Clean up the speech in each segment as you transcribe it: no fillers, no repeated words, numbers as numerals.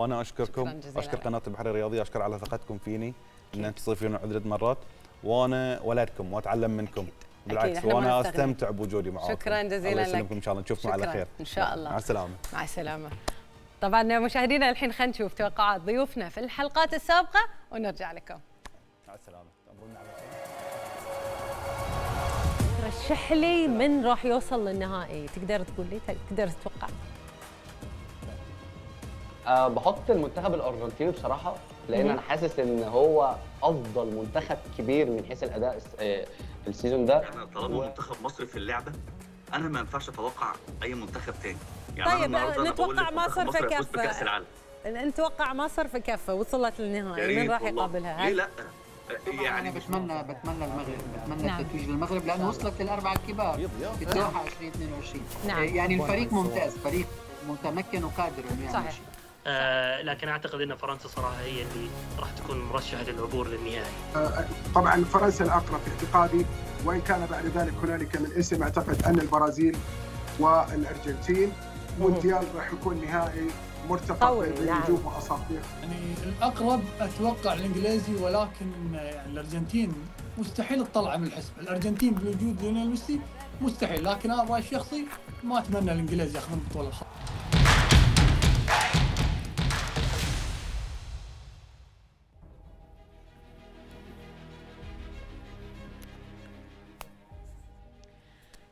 وانا اشكركم، اشكر قناه البحر الرياضيه، اشكر على ثقتكم فيني ان انتم تستضيفون عدة مرات، وانا ولدكم واتعلم منكم بالعكس، وانا استمتع بوجودي معاكم. شكرا جزيلا الله يسلمكم ان شاء الله، نشوفكم على خير ان شاء الله. مع السلامه. مع السلامه. طبعا مشاهدينا الحين خلينا نشوف توقعات ضيوفنا في الحلقات السابقه ونرجع لكم. مع السلامه. رشح لي من راح يوصل للنهائي، تقدر تقول لي، تقدر تتوقع؟ بحط المنتخب الارجنتيني بصراحه، لان انا حاسس ان هو افضل منتخب كبير من حيث الاداء في السيزون ده. انا طالما منتخب مصر في اللعبه، انا ما ينفعش اتوقع اي منتخب تاني. يعني طيب نتوقع مصر في كفه. نتوقع مصر في كفه وصلت للنهائي، من راح يقابلها؟ ليه لا؟ يعني انا بتمنى المغرب، بتمنى التتويج للمغرب لانه وصلت للاربعه الكبار في الدوحه 2022. يعني الفريق ممتاز، فريق متمكن وقادر انه يعمل شيء. لكن اعتقد ان فرنسا صراحه هي اللي راح تكون مرشحه للعبور للنهائي. طبعا فرنسا الاقرب في اعتقادي، وان كان بعد ذلك هنالك من اسم. اعتقد ان البرازيل والارجنتين مونديال راح يكون نهائي مرتقب بين نجوم واساطير. يعني الاقرب اتوقع الانجليزي، ولكن يعني الارجنتين مستحيل تطلع من الحسبه. الارجنتين بوجود ليونيل ميسي مستحيل، لكن انا رايي الشخصي ما اتمنى الانجليز ياخذون البطوله الخاصه.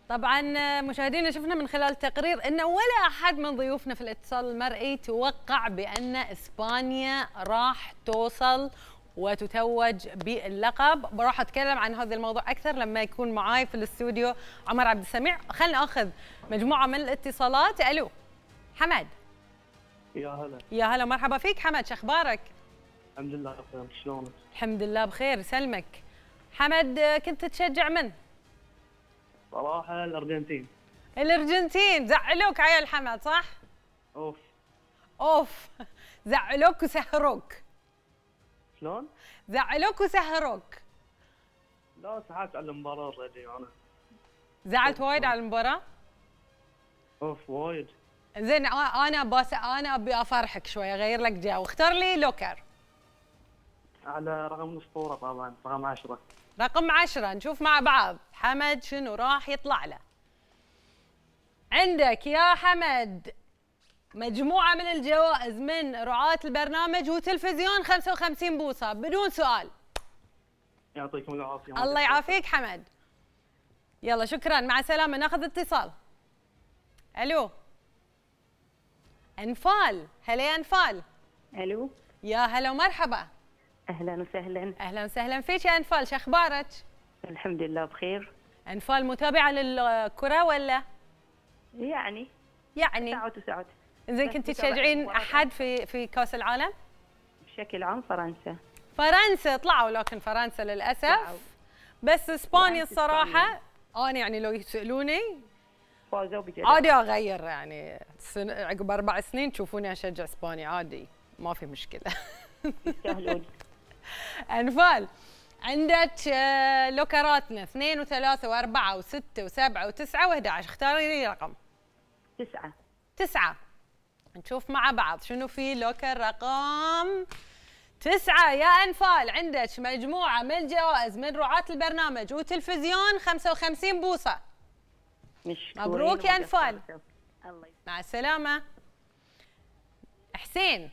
طبعا مشاهدينا شفنا من خلال التقرير انه ولا احد من ضيوفنا في الاتصال المرئي توقع بان اسبانيا راح توصل وتتوج باللقب. راح اتكلم عن هذا الموضوع اكثر لما يكون معاي في الاستوديو عمر عبد السميع. خلينا ناخذ مجموعه من الاتصالات. الو حمد. يا هلا. يا هلا مرحبا فيك حمد، شو اخبارك؟ الحمد لله بخير، شلونك؟ الحمد لله بخير يسلمك. حمد كنت تشجع من؟ صراحة الأرجنتين. الأرجنتين زعلوك عيال حمد صح؟ أوف زعلوك وسهروك. شلون؟ زعلوك وسهروك. لا زعلت على المباراة اوريدي أنا. زعلت وايد على المباراة؟ وايد. زين أنا أبي أفرحك شوي، أغير لك جو، اختار لي لوكر. على رقم الأسطورة طبعا، رقم 10. رقم 10. نشوف مع بعض حمد شنو راح يطلع له. عندك يا حمد مجموعة من الجوائز من رعاة البرنامج وتلفزيون 55 بوصة بدون سؤال. يعطيكم العافية. الله يعافيك حمد. يلا شكرا، مع السلامة. ناخذ اتصال. الو انفال. هلا يا انفال. الو يا هلا ومرحبا. اهلا وسهلا. اهلا وسهلا فيك يا انفال، شو اخبارك؟ الحمد لله بخير. انفال متابعه للكره ولا؟ يعني ساعات. زين كنت تشجعين احد في كاس العالم؟ بشكل عام فرنسا طلعوا، لكن فرنسا للاسف. بس اسبانيا الصراحه انا يعني لو يسالوني فازوا بجد عادي اغير، يعني عقب 4 سنين تشوفوني اشجع اسبانيا عادي، ما في مشكله. يستاهلون. انفال عندك لوكراتنا 2 و3 و4 و6 و7 و9 و11. اختاري لي رقم. 9. نشوف مع بعض شنو في لوكر رقم 9. يا انفال عندك مجموعه من الجوائز من رعاة البرنامج وتلفزيون 55 بوصه. مبروك يا انفال. مع السلامه. حسين.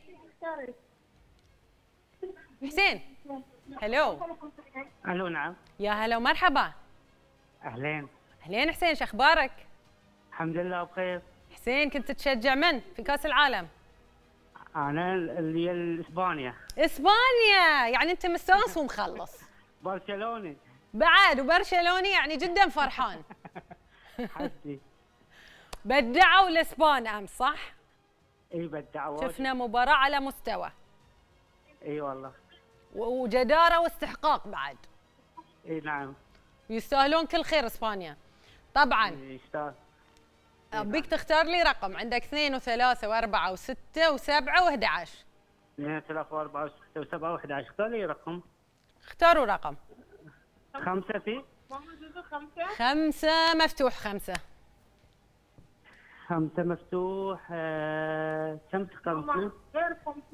هلو. الو نعم. يا هلا ومرحبا. اهلين حسين، شو اخبارك؟ الحمد لله بخير. حسين كنت تشجع من في كاس العالم؟ انا اللي اسبانيا، يعني انت مستانس ومخلص. برشلوني بعد، وبرشلوني يعني جدا فرحان. حدي. بدعوا الاسبان امس صح؟ اي بدعوا. شفنا مباراة على مستوى. اي والله. وجدارة واستحقاق بعد. اي نعم. يستاهلون كل خير اسبانيا. طبعا. يستاهل. ابيك تختار لي رقم. عندك 2 و3 و4 و6 و7 و11. 2 و3 و4 و6 و7 و11. اختار لي رقم. اختاروا رقم. 5 في. 5 مفتوح. 5 مفتوح. كم تختار؟